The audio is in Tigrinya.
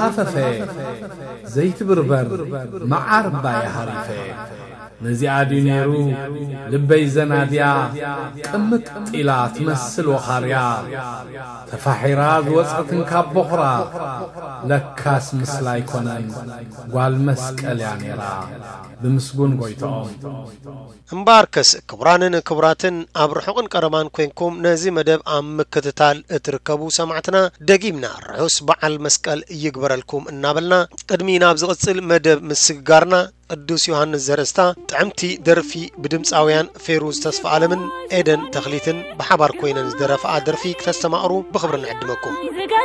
ሃፈፈ ዘይትብርበር መዓር እባ ይሃሪፈ። ነዚኣ ድዩ ነይሩ ልበይ ዘናድያ ቅምጥ ኢላ ትመስል ወኻርያ ተፋሒራ ዝወጸትን ካብ ቦኽራ። ለካስ ምስላ ኣይኮነን ጓል መስቀል እያ ነይራ ብምስጉን ጎይትኦም። እምበኣርከስ ክቡራንን ክቡራትን ኣብ ርሑቕን ቀረባን ኮይንኩም ነዚ መደብ ኣብ ምክትታል እትርከቡ ሰማዕትና ደጊምና ርሑስ በዓል መስቀል ይግበረልኩም እናበልና ቅድሚ ናብ ዝቕጽል መደብ ምስግጋርና ቅዱስ ዮሃንስ ዘርእስታ ጥዕምቲ ደርፊ ብድምፃውያን ፌሩዝ ተስፋ ኣለምን ኤደን ተኽሊትን ብሓባር ኮይነን ዝደረፍኣ ደርፊ ክተስተማቕሩ ብኽብሪ ንዕድመኩም።